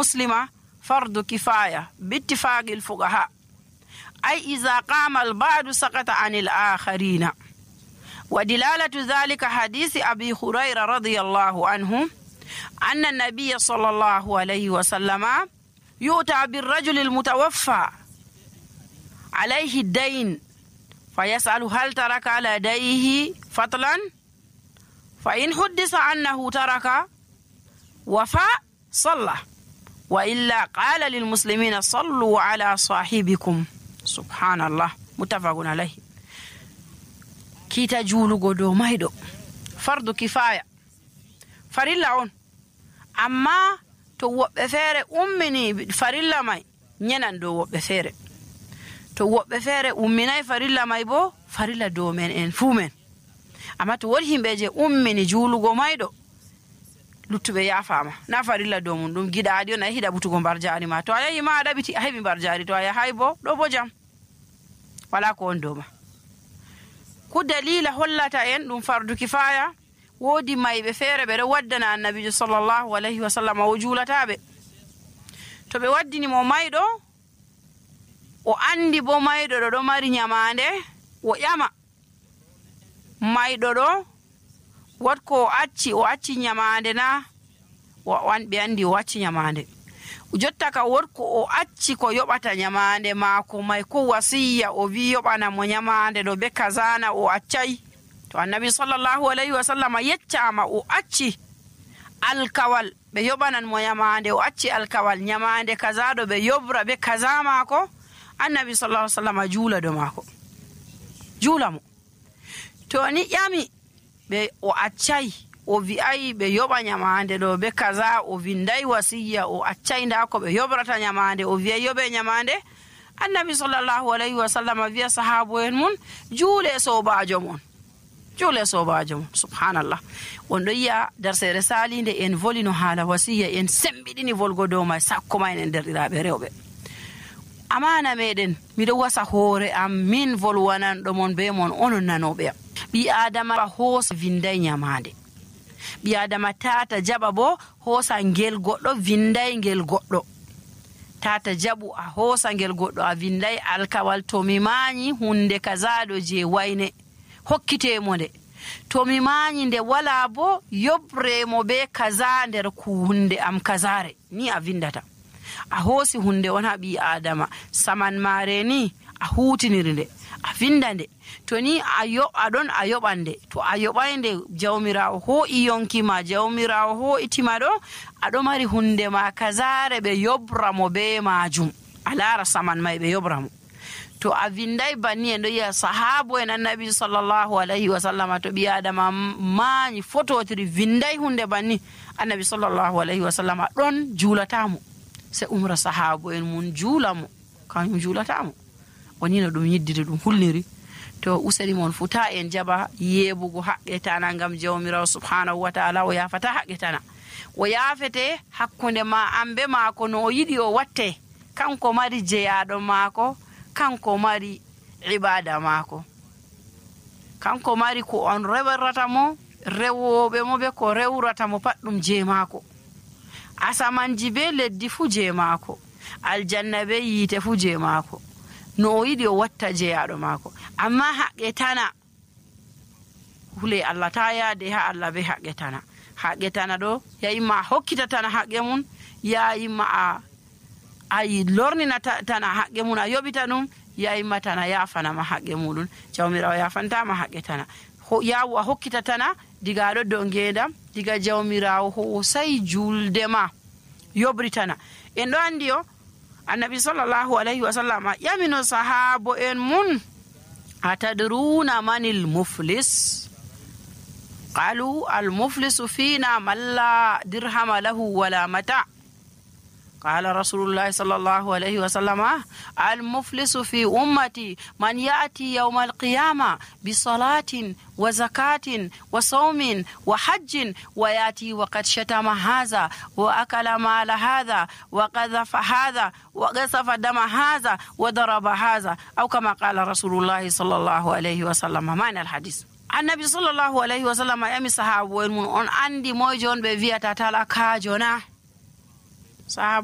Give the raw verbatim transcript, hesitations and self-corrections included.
muslima fardu kifaya bittifaqi alfuqaha ay iza qama alba'du saqata anil akharina. wa dilalatu dhalika hadisi abi hurayra radiyallahu anhu anna an-nabiy sallallahu alayhi wa sallama yu'ta bir-rajul al-mutawaffa alayhi ad-dayn fayasalu hal taraka ala dayhi fatlan fa in huddisa annahu taraka wafa salla wa illa qala lil muslimina sallu ala sahibikum. subhanallah, muttafaqun alayhi. kita julugo do maydo fardu kifaya farilla on, amma to wobbe fere ummini farilla mai nyenan do wobbe fere, to wobbe fere umminai farilla mai bo farilla do men en fu men. amma to wodi himbe je ummini julugo maydo luttube yafama na farilla do mun dum gidaadi on ay hida butugo barjaari ma, to ayayi ma dabiti a hebi barjaari, to aya haybo do bo jam wala ko on do ma. ku dalila hollata en dum fardu kifaya wodi maybe fere be do waddana annabi sallallahu alaihi wasallam o julatabe, to be waddini mo maydo o andi bo maydo do do mari nyamande o yama maydo do wat ko acci o acci nyamande na wan be andi o acci nyamande jotta ka wot ko o acci ko yobata nyamande maako mai ko wasiya o wi yobana mo nyamande do be kazana o accai, to annabi sallallahu alaihi wasallam yeccama o acci alkawal be yobanan mo nyamande o acci alkawal nyamande kaza do be yobra be kaza maako, annabi sallallahu alaihi wasallam jula do maako jula mo. to ni yami be o accai o vi'ai be yoba nyamande do be kaza o vindai wasiya o accai nda ko be yobrata nyamande o vi'a yobe nyamande, annabi sallallahu alaihi wasallam vi'a sahabo en mun jule sobajo mon jule sobajo mon. subhanallah, wondo ya darsere salinde en volino hala wasiya en sembidini volgodo mai sakko mai en derdirabe rewbe. amana meden mido wasa hore am min volwanan do mon be mon onon nanobe bi adama hosa vindai nyamande, bi adama tata jaba bo hosa ngel goddo vindai ngel goddo, tata jabu a hosa ngel goddo a vindai alkawal to mi manyi hunde kazado je wayne hokkite mo de, to mi manyi nde wala bo yobre mo be kaza nder ku hunde am kazare ni a vindata a hosi hunde on habi adama saman mare ni a hutiniri nde a vindande, to ni ayo adon ayobande, to ayobande jawmirawo ho iyonki ma jawmirawo ho itima do ado mari hunde ma kazare be yobra mo be majum alara saman mai be yobra mo. to a vindai banni en do ya sahabo en annabi sallallahu alaihi wasallam to bi adama mani fototiri vindai hunde banni annabi sallallahu alaihi wasallam don julatamo se umra sahabo en mun julamo kan julatamo woni no dum yiddide dum hulliri. to usari mon futa en jaba yebugo haqqetana ngam jawmirawo subhanahu wa ta'ala o yafata haqqetana o yafete hakkunde ma ambe maako no yidi o watte kanko mari jeyado maako, kanko mari ibada maako, kanko mari ko on rewerata mo rewobe mo be ko rewrata mo paddum je maako, asamanji be leddi fu je maako, aljanna be yite fu je maako, no yidi o watta jeyado maako. amma haqqetana hule Allah ta yaade ha Allah be haqqetana haqqetana do yayima hokkita tana haqqe mun, yayima a ay lornina tana haqqe mun a yobita dum, yayima tana yafana ma haqqe mudun jawmirawo yafanta ma haqqetana ho yawu a hokkita tana diga do do ngedam diga jawmirawo ho sai julde ma yobritana. en do andi o annabi sallallahu alaihi wasallam yamino sahabo en mun atadruna manil muflis qalu al muflisu fina man la dirhama lahu wala mata قال رسول الله صلى الله عليه وسلم المفلس في أمتي من يأتي يوم القيامة بصلاة وزكاة وصوم وحج ويأتي وقد شتم هذا وأكل مال هذا وقذف هذا وقذف دم هذا وضرب هذا أو كما قال رسول الله صلى الله عليه وسلم. معنى الحديث النبي صلى الله عليه وسلم يمي صحابه من أن عندي موجون بفيتا تلقى جنا صحابه